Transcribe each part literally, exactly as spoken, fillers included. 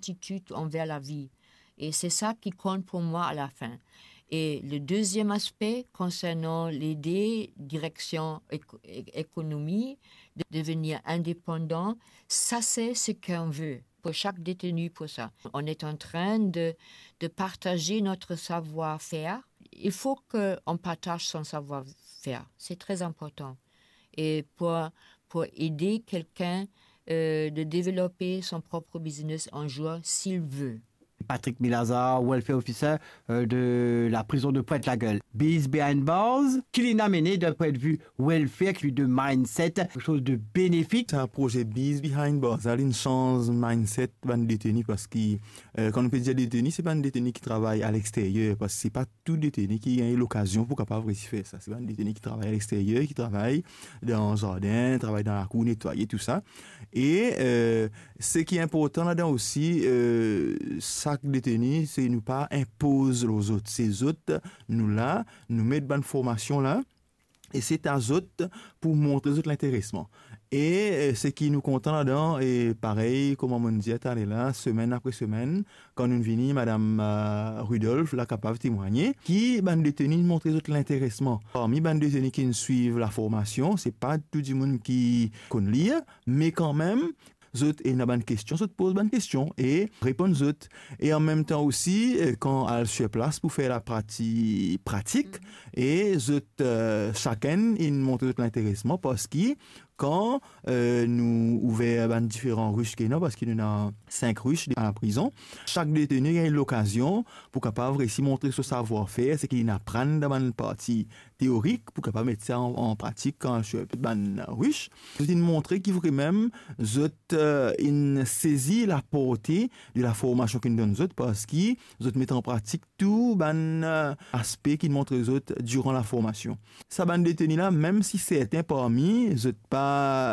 gratitude envers la vie. Et c'est ça qui compte pour moi à la fin. Et le deuxième aspect concernant l'idée, direction éco-, é-, économie, de devenir indépendant, ça c'est ce qu'on veut pour chaque détenu pour ça. On est en train de, de partager notre savoir-faire. Il faut qu'on partage son savoir-faire. C'est très important. Et pour, pour aider quelqu'un euh, de développer son propre business un jour s'il veut. Patrick Milazar, welfare officer euh, de la prison de Pointe-la-Gueule. Bees Behind Bars, ki li amenn d'un point de vue welfare, ki li de mindset, quelque chose de bénéfique. Sa proze Bees Behind Bars, sa linn sanz mindset bann deteni, parski euh, kan nou pe dir deteni, se bann deteni ki travay a lexteryer, parski se pa tou deteni ki gagn lokazion pou kapav resi fer sa. Se bann deteni ki travay a lexteryer, ki travay dan zardin, travay dan lakour, netwaye, tou sa. E euh, seki inportan ladan osi, euh, sak deteni, se nou pa inpoz lor zot. Se zot, nou la, nou met bann formasion la, e se ta zot pou montre zot linteresman. E euh, seki nou kontan ladan, e parey kouma mo'nn dir taler la, semenn apre semenn, kan nou vini, madam euh, Rudolph la kapav temwagne, ki bann deteni montre zot linteresman. Parmi bann deteni ki swiv laformasion, se pa tou dimoun ki konn lir, me kanmem, zot ena bann kestion, zot poz bann kestion e reponn zot. E anmemtan osi, euh, kan al sir plas pou fer laparti pratik, e zot, euh, sakenn inn montre zot linteresman, parski kan euh, nou ouver bann diferan rich ki ena, parski nou ena sink rich a laprizon, sak deteni gagn lokazion pou kapav resi montre so savwar-fer, seki linn aprann dan bann parti teorik, pou kapav met sa an, an pratik kan sir bann rich. Zot inn montre ki vremem zot euh, inn sezi laporte de laformasion ki nou donn zot, parski zot met an pratik tou bann euh, aspe ki montre zot diran laformasion. Sa bann deteni la, mem si sertin parmi zot pa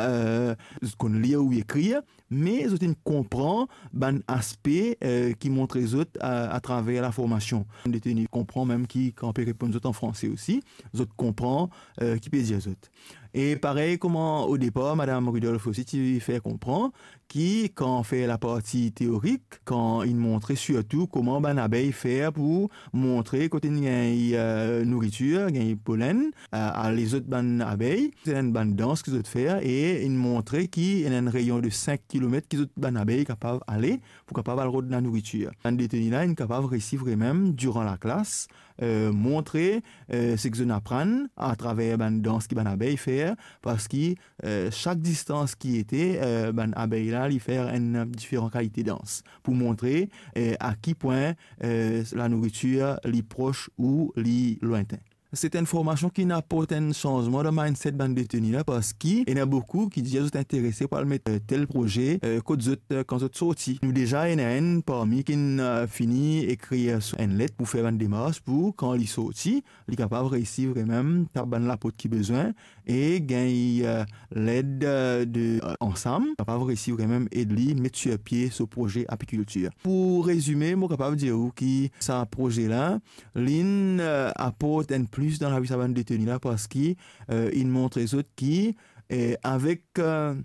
euh, zot konn lir ou ekrir, me zot inn konpran bann aspe euh, ki montre zot euh, atraver laformasion. Bann deteni konpran mem ki kan pe reponn zot an franse osi, zot konpran euh, ki pe dir zot. E parey kouma o depar, madam Rudolph osi ti fer konpran ki kan fer laparti teorik, kan inn montre sirtou kouma bann abey fer pou montre kot inn gagn euh, nouritir, gagn polenn, euh, a lezot bann abey. Se enn bann dans ki zot fer e inn montre ki ena enn reyon de sink kilomet ki zot bann abey kapav ale pou kapav al rod lanouritir. Bann deteni la inn kapav resi vremem diran laklas euh, montre euh, seki zot inn aprann atraver bann dans ki bann abey fer, parski euh, sak distans ki ete, euh, bann abey la, li fer enn diferan kalite dans pou montre euh, a ki pwin euh, lanouritir li pros ou li lwintin. Se enn formasion ki inn aport enn sanzman dan mindset bann deteni la, parski ena boukou ki dir zot interese pou al met euh, tel proze euh, kot zot euh, kan zot sorti. Nou deza ena enn parmi ki'nn euh, fini ekrir enn let pou fer bann demars pou kan li sorti, li kapav resi vremem tap bann laport ki bezwin e gagn euh, led euh, de euh, Ansam, kapav resi vremem ed li met sir pie so proze apikiltir. Pou rezime, mo kapav dir ou ki sa proze la, linn euh, aport enn plis dan lavi sa bann deteni la, parski euh, inn montre zot ki euh, avek euh,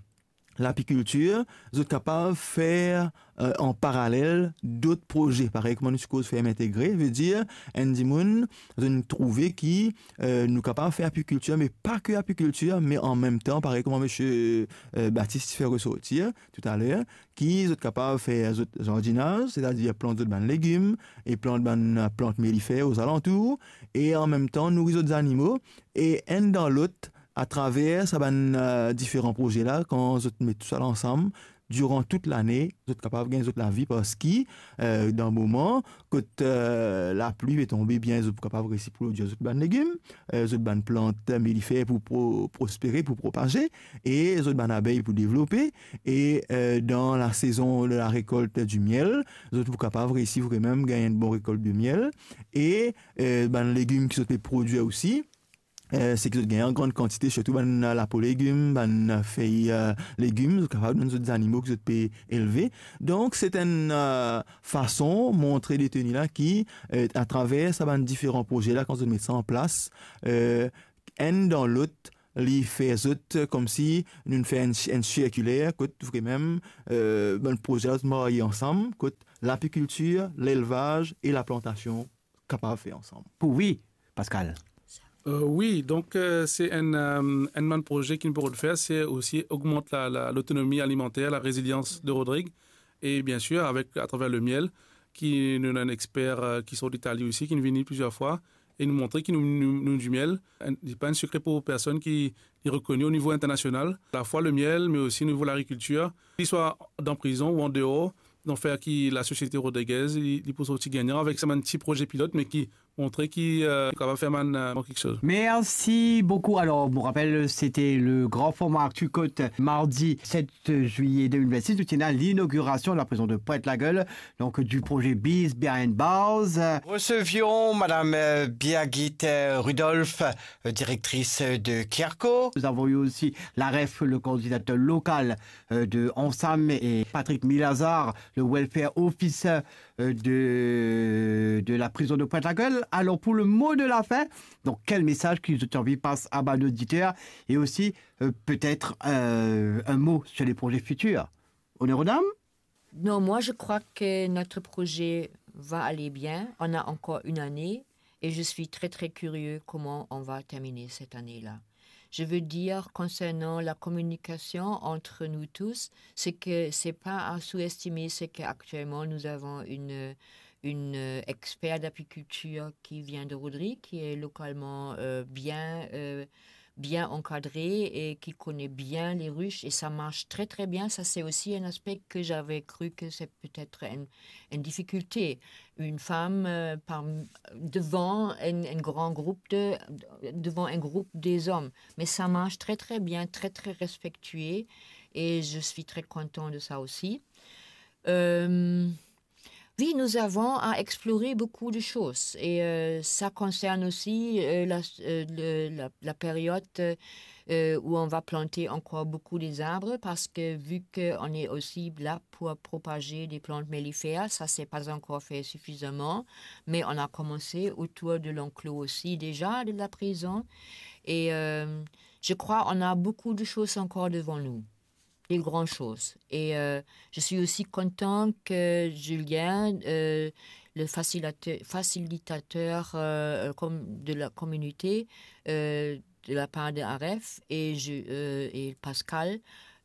lapikiltir, zot kapav fer euh, an paralel dot proze, parey kouma nou ti koz ferm integre, vedir enn dimoun, zot inn trouve ki euh, nou kapav fer apikiltir, me pa ke apikiltir, me anmemtan, parey kouma misie euh, Batis ti fer resortir toutaler, ki zot kapav fer zot zardinaz, setadir plant zot bann legim e plant bann euh, plant melifer ozalantour, e anmemtan nouri zot zanimo, e enn dan lot, atraver sa bann euh, diferan proze la, kan zot met tou sa la ansam, diran tout lane, zot kapav gagn zot lavi, parski euh, dan moman kot euh, lapli pe tonbe bien, zot pou kapav resi prodwir zot bann legim, euh, zot bann plant melifer pou pro-, prospere, pou propaze, e zot bann abey pou devlope, e euh, dan lasezon de larekolt di miel, zot pou kapav resi vremem gagn enn bon rekolt de miel, e euh, bann legim ki zot pe prodwir osi, euh, seki zot gagn an gran kantite, sirtou bann lapo legim, bann fey euh, legim, zot kapav donn zot zanimo ki zot pe elve. Donk, se enn euh, fason montre deteni la ki, euh, atraver sa bann diferan proze la, kan zot met sa an plas, euh, enn dan lot, li fer zot, eh, koumsi nou fer enn, enn sirkiler, kot vremem, eh, bann proze la zot marye ansam, kot lapikiltir, lelvaz e laplantasion kapav fer ansam. Pou wi, Pascal. Eh, wi, donk, eh, se enn, eh, enn bann proze ki nou pou fer, se osi ogmant la, la, lotonomi alimanter, la rezilians de Rodrig, e bien sir, avek, atraver le miel, ki nou ena enn exper, eh, ki sort Itali osi, ki vinn plizier fwa, e nou montre ki nou, nou, nou di miel, enn, li pa enn sekre pou personn, ki li rekoni o nivo internasional, alafwa le miel, me osi o nivo lagrikiltir, ki swa dan prizon ou an deor, donk fer ki lasosiete rodrigez, li, li pou sorti gagnan avek sa bann ti proze pilot, me ki montre ki, eh, kapav fer bann, eh, bann kiksoz. Merci beaucoup. Alors, on vous rappelle, c'était le grand format Actu Côte, mardi sept juillet deux mille vingt-six. Nous tenons à l'inauguration de la prison de Pointe-la-Gueule, donc du projet Bees Behind Bars. Recevions Madame, euh, Birgit, euh, Rudolph, euh, directrice de Kerco. Nous avons eu aussi Laref, le coordinateur local, euh, de Ensam, et Patrick Milazar, le welfare officer, euh, de, de la prison de Pointe-la-Gueule. Alors, pour le mot de la fin, donc, quel message ki zot anvi pas a bann oditer, et aussi, euh, peut-être, euh, un mot sur les projets futurs. Honneur aux dames. Non, moi, je crois que notre projet va aller bien. On a encore une année et je suis très, très curieux comment on va terminer cette année-là. Je veux dire, concernant la communication entre nous tous, c'est que c'est pas à sous-estimer, c'est qu'actuellement, nous avons une, une, euh, expert d'apiculture qui vient de Rodrigue, qui est localement, euh, bien, euh, bien encadré et qui connaît bien les ruches et ça marche très, très bien. Ça, c'est aussi un aspect que j'avais cru que c'est peut-être une, une difficulté. Une femme, euh, par, devant un, un grand groupe de, devant un groupe des hommes. Mais ça marche très, très bien, très, très respectueux et je suis très content de ça aussi. Euh, oui, nous avons à explorer beaucoup de choses et, euh, ça concerne aussi, euh, la, euh, le, la, la période, euh, où on va planter encore beaucoup des arbres parce que vu qu'on est aussi là pour propager des plantes mellifères, ça s'est pas encore fait suffisamment, mais on a commencé autour de l'enclos aussi déjà de la prison et, euh, je crois on a beaucoup de choses encore devant nous. Des grandes choses. Et, euh, je suis aussi content que Julien, euh, le facilitateur, facilitateur, euh, comme de la communauté, euh, de la part de Aref et je, euh, et Pascal,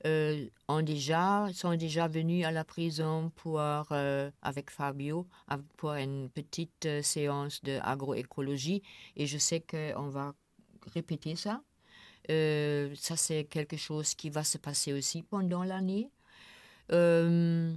euh, ont déjà, sont déjà venus à la prison pour, euh, avec Fabio, av-, pour une petite, euh, séance de agroécologie. Et je sais qu'on va répéter ça. Euh, ça, c'est quelque chose qui va se passer aussi pendant l'année. Euh,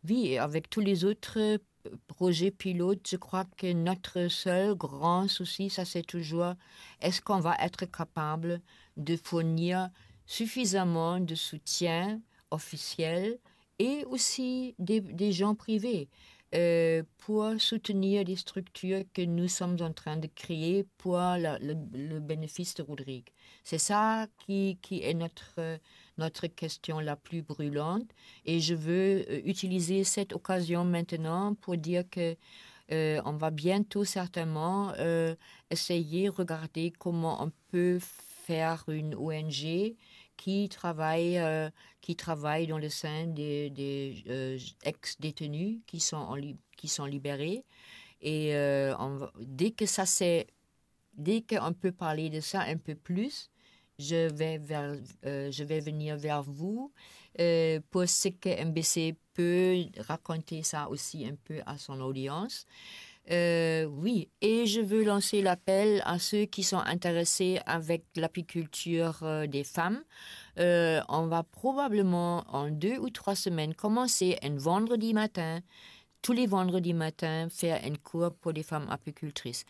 oui, et avec tous les autres, euh, projets pilotes, je crois que notre seul grand souci, ça, c'est toujours, est-ce qu'on va être capable de fournir suffisamment de soutien officiel et aussi des, des gens privés, euh, pour soutenir des structures que nous sommes en train de créer pour la, le, le bénéfice de Rodrigue. C'est ça qui, qui est notre, notre question la plus brûlante et je veux, euh, utiliser cette occasion maintenant pour dire que, euh, on va bientôt certainement, euh, essayer, regarder comment on peut faire une O N G qui travaille, euh, qui travaille dans le sein des, des, euh, ex-détenus qui sont en lib-, qui sont libérés. Et, euh, on va, dès que ça c'est, dès qu'on peut parler de ça un peu plus, je vais vers, euh, je vais venir vers vous, euh, pour ce que M B C peut raconter ça aussi un peu à son audience. Euh, oui, et je veux lancer l'appel à ceux qui sont intéressés avec l'apiculture, euh, des femmes. Euh, on va probablement en deux ou trois semaines commencer un vendredi matin, tous les vendredis matins, faire un cours pour des femmes apicultrices.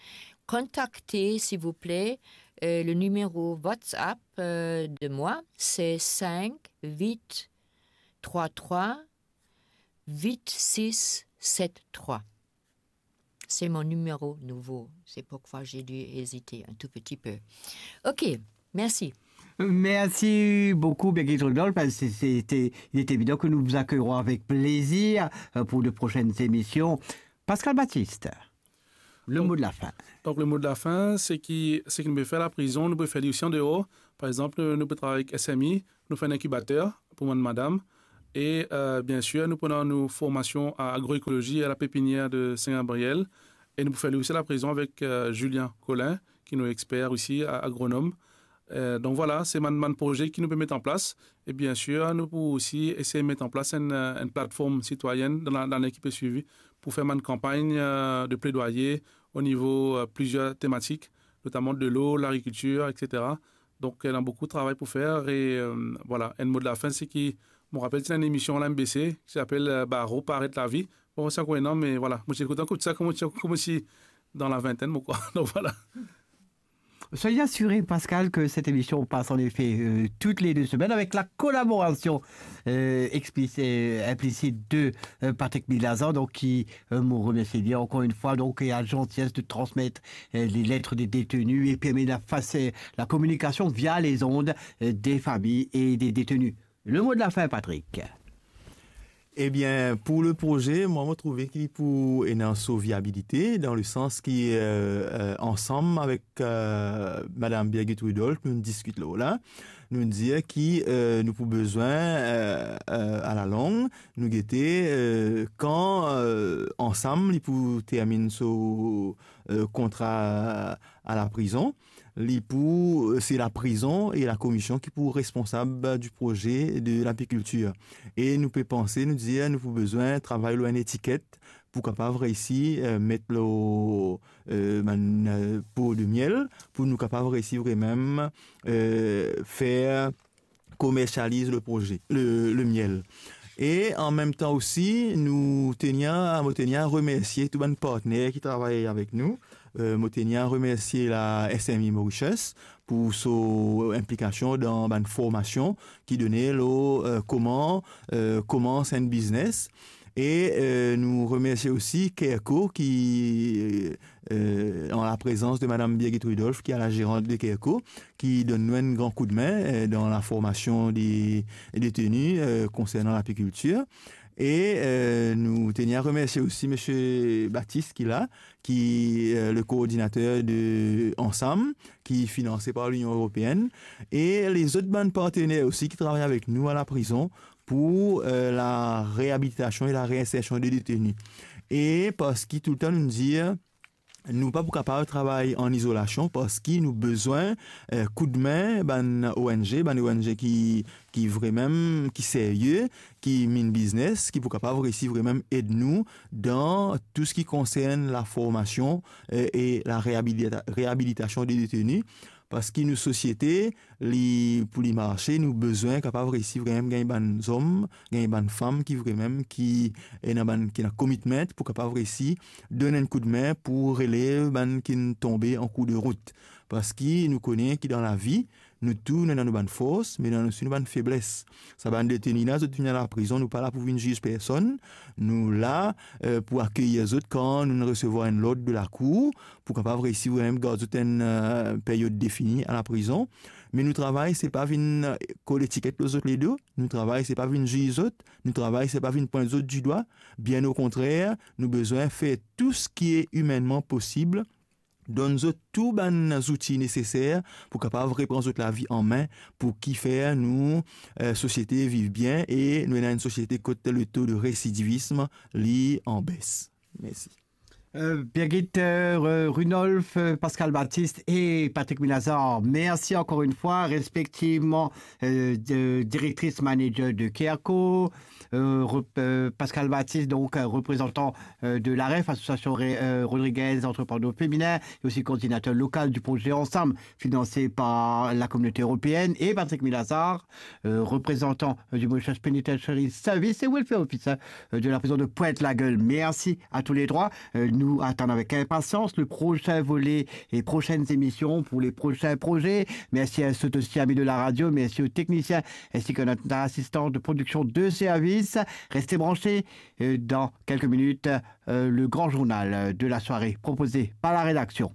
Contactez, s'il vous plaît, euh, le numéro WhatsApp, euh, de moi, c'est cinq huit trois trois huit six sept trois. C'est mon numéro nouveau. C'est pourquoi j'ai dû hésiter un tout petit peu. Ok, merci. Merci beaucoup, Birgit Rudolph. C'est, c'était, il est évident que nous vous accueillerons avec plaisir, euh, pour de prochaines émissions. Pascal Baptiste. Le mo de la fin. Donk, le mo de la fin, se ki, seki nou pe fer laprizon, nou pe fer li osi andeor. Par exanp, nou, nou pe travay avek S M I, nou fer enn inkibater pou bann madam. E, euh, bien sir, nou pou ena nou formasion a agroekolozi a la pepinier de Saint-Gabriel. E nou pou fer li osi laprizon avek, euh, Julien Collin, ki nou exper osi, a-, agronom. Euh, donk vwala, se bann, bann proze ki nou pe met an plas. E bien sir, nou pou osi esey met an plas enn, euh, enn platform sitwayenn dan la, lane ki pe swivi pou fer bann kanpagn, euh, de pledwaye o nivo, euh, plizier tematik, notaman delo, lagrikiltir, et cetera. Donk, ena boukou travay pou fer e, euh, vwala, enn mo de la fin, se ki, mo rapel, ti ena enn emision la M B C, ki apel, euh, Baro Paret Lavi. Bon, sa ankor ena, me vwala, mo ti kontan ekout sa, kouma ti, kouma ti dan la vintenn, mo krwar. Donk, vwala. Soyez assuré, Pascal, que cette émission passe en effet, euh, toutes les deux semaines avec la collaboration, euh, explici-, euh, implicite de, euh, Patrick Milazan, donc qui, euh, mo remercie bien encore une fois, donc, et a la gentillesse de transmettre, euh, les lettres des détenus et permet la face-, la communication via les ondes, euh, des familles et des détenus. Le mot de la fin, Patrick. Ebien, pou le proze, mwa, mo trouve ki pou ena so viabilite, dan le sans ki, euh, euh, ansam avek, euh, Madam Birgit Rudolph, nou diskit lor la, nou dir ki, euh, nou pou bezwin, euh, euh, a la long, nou gete, euh, kan, euh, ansam, li pou terminn so, euh, kontra a laprizon. Li pou, se laprizon e lakomision ki pou responsab di proze de lapikiltir. E nou pe panse, nou dir, nou pou bezwin travay lor enn etiket pou kapav reysi, euh, met lor, euh, bann, euh, po de miel, pou nou kapav reysi vremem, euh, fer komersializ le proze, le, le miel. E an mem tan osi, nou teni a, mo teni a remersie tou bann partner ki travay avek nou. Euh, mo teni a remersie la S M I Mauritius pou so inplikasion dan bann formasion ki done lor, euh, kouma, euh, koumans enn biznes. E, euh, nou remersie osi Careco ki, euh, an laprezans de Madam Birgit Rudolph, ki a la zerant de Careco, ki donn nou enn gran koudme, euh, dan laformasion de, de deteni, euh, konsernan lapikiltir. E, euh, nou teni a remersie osi Misie Baptiste ki la, ki, euh, le koordinater de Ansam, ki finanse par Linion Eropeenn, e lezot bann partner osi ki travay avek nou a laprizon pou, euh, lareabilitasion e lareinsersion de deteni. E parski toultan nou dir, nou pa pou kapav travay an izolasion parski nou bezwin, euh, koudme bann O N G, bann O N G ki, ki vremem, ki serye, ki mean business, ki pou kapav reysi vremem ed nou dan tou seki konsern laformasion, euh, e lareabilita-, reabilitasion de deteni. Parski nou sosiete, li, pou li marse, nou bezwin kapav reysi vremem gagn bann zom, gagn bann fam ki vremem ki ena bann, ki ena commitment pou kapav reysi donn enn koudme pou relev bann ki tonbe an kour de rout. Parski nou kone ki dan lavi, nou tou, nou ena nou bann fors, me nou ena osi nou bann febles. Sa bann deteni la, zot vinn a laprizon, nou pa la pou vinn ziz personn. Nou la, euh, pou akeyir zot kan nou resevwar enn lord de lakour, pou kapav reysi vremem gard zot enn, euh, peryod defini a laprizon. Me nou travay, se pa vinn, euh, kol etiket lor zot ledo. Nou travay, se pa vinn ziz zot. Nou travay, se pa vinn pwint zot didwa. Bien okontrer, nou bezwin fer tou seki imenman posib, donn zot tou bann zouti neseser pou kapav repran zot lavi an me, pou ki fer nou, euh, sosiete viv bien e nou ena enn sosiete kot le to de residivism li an bes. Mersi. Euh, Birgit, euh, Ru-, Rudolph, euh, Pascal Baptiste et Patrick Milazar, merci encore une fois, respectivement, euh, de, directrice manager de Careco, euh, rep-, euh, Pascal Baptiste, donc, euh, représentant, euh, de l'AREF, Association Ré-, euh, Rodriguez Entrepreneurs Féminins, et aussi coordinateur local du projet Ensemble, financé par la Communauté européenne, et Patrick Milazar, euh, représentant, euh, du Mauritius Penitentiary Service et Welfare Officer, euh, de la prison de Pointe-la-Gueule. Merci à tous les trois. Euh, nou atann avek inpasians le prosin vole e prosenn emision pou le prosin proze. Mersi a zot osi, ami de la radio. Mersi aux techniciens ainsi que notre assistant de production de service. Restez branchés. Euh, dans quelques minutes, euh, le grand journal, euh, de la soirée proposé par la rédaction.